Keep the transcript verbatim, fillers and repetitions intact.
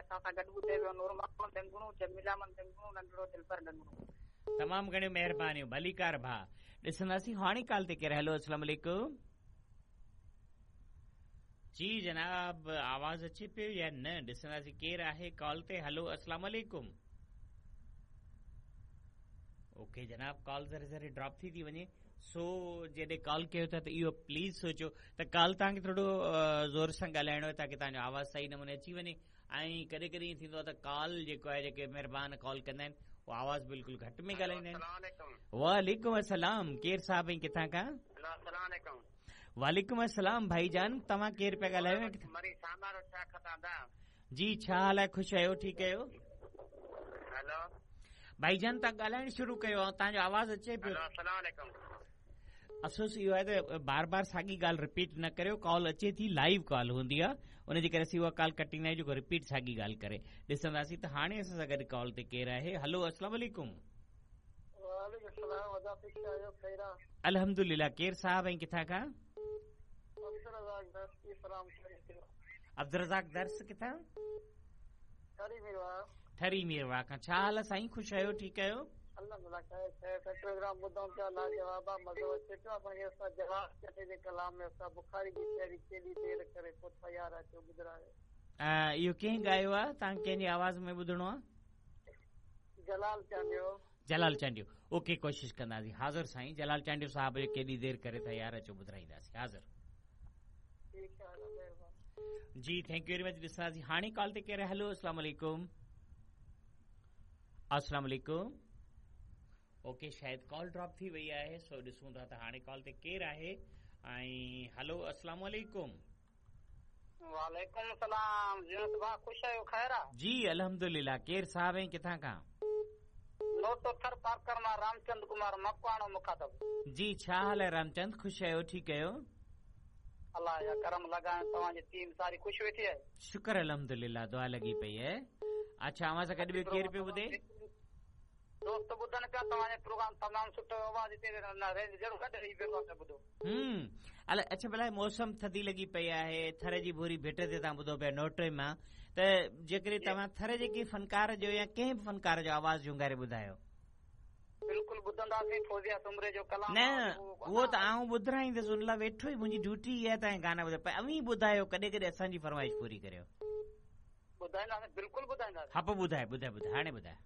असां सां गॾु ॿुधे पियो नूर मोहम्मद डंगणो, जमीला अहमद डंगणो, नंढड़ो दिलबर डंगणो। तमामु घणियूं महिरबानियूं, भलीकार भाउ। ॾिसंदासीं हाणे कॉल ते केरु। हेलो, अस्सलाम वालेकुम। जी जनाब, आवाज़ अचे पियो या न? ॾिसंदासीं केरु आहे कॉल ते। हेलो, अस्सलाम वालेकुम। ओके जनाब, कॉल ज़रा ज़रा ड्रॉप थी थी वञे, सो जॾहिं कॉल कयो था त इहो प्लीज़ सोचो त कॉल तव्हांखे थोरो ज़ोर सां ॻाल्हाइणो आहे ताकी तव्हांजो आवाज़ सही नमूने अची वञे। ऐं कॾहिं कॾहिं ईअं थींदो आहे त कॉल जेको आहे, जेके महिरबान कॉल कंदा आहिनि उहो आवाज़ बिल्कुलु घटि में ॻाल्हाईंदा आहिनि। वालेकुम अस्सलाम। केरु साहिबु ऐं किथां खां? वालेकुम अस्सलाम भाईजान, तव्हां केरु पिया ॻाल्हायो? जी, छा हाल आहे? ख़ुशि आहियो? ठीकु आहियो? भाईजान, तव्हां ॻाल्हाइणु शुरू कयो, तव्हांजो आवाज़ अचे पियो। अफ़सोस इहो आहे त बार बार साॻी ॻाल्हि रिपीट न करियो। कॉल अचे थी, लाइव कॉल हूंदी आहे, उनजे करे असीं उहा कॉल कटींदा आहियूं जेको रिपीट साॻी ॻाल्हि करे। ॾिसंदासीं त हाणे असां सां गॾु कॉल ते केरु आहे। हलो, अस्सलाम वालेकुम। अल्हम्दुलिल्लाह। केरु साहिबु ऐं किथां खां? अब्दुल दर्स किथां? ठरी मीरवाह खां। छा हाल आहे साईं? ख़ुशि आहियो? ठीकु आहियो? प्रोग्राम ॿुधूं पिया, लाजवाब आहे, मज़ो अचे पियो। आपण जवाब जे कलाम में बुखारी जी शाइरी केॾी देरि करे पोइ तयारु अचो ॿुधायो। इहो कंहिं ॻायो आहे? तव्हां कंहिंजी आवाज़ में ॿुधणो आहे? जलाल चांडियो। जलाल चांडियो, ओके, कोशिशि कंदासीं। हाज़िर साईं, जलाल चांडियो साहिब जो केॾी देरि करे तयारु अचो ॿुधाईंदासीं। हाज़िर जी, thank you very much. ॾिसंदासीं हाणे कॉल ते केरु। हेलो, अस्सलाम वालेकुम। अस्सलाम वालेकुम। ओके, शायदि कॉल ड्रॉप थी वई आहे, सो ॾिसूं था त हाणे कॉल ते केरु आहे। ऐं हेलो, अस्सलाम वालेकुम। वालेकुम सलाम। भाउ, ख़ुशि आहियो? ख़ैर आहे? जी अल्हम्दुलिल्लाह। केरु साहिबु ऐं किथां खां? नोटो थर पार्कर मां रामचंद कुमार मकवाणो मुखातब। जी, छा हाल आहे रामचंद? ख़ुशि आहियो? ठीकु आहियो? अलाह जा करम लॻाए, तव्हांजी टीम सारी ख़ुशि वेठी आहे? शुक्र अल्हम्दुलिल्लाह, दुआ लॻी पई आहे। अच्छा, अव्हां सां गॾु ॿियो केरु पियो ॿुधे? दोस्त ॿुधनि पिया तव्हांजो प्रोग्राम, तमामु सुठो आवाज़ हिते जहिड़ो गॾु रही प्रोग्राम पिया ॿुधो। हम्म, अला अच्छा, भला मौसम थधी लॻी पई आहे, थर जी भूरी भेट ते तव्हां ॿुधो पिया नोटे मां, त जेकॾहिं तव्हां थर जे कंहिं फनकार जो या कंहिं बि फनकार जो आवाज़ झूंगारे ॿुधायो। बिल्कुलु ॿुधंदासीं फौजिया सुमरे जो कलाम। न, उहो त आउं ॿुधाईंदुसि, उन लाइ वेठो ई मुंहिंजी ड्यूटी इहा आहे गाना ॿुधायो, पर अवीं ॿुधायो, कॾहिं कॾहिं असांजी फरमाइश पूरी करियो। ॿुधाईंदासीं, बिल्कुलु ॿुधाईंदासीं। हा, पोइ ॿुधाए ॿुधाए ॿुधाए, हाणे ॿुधाए।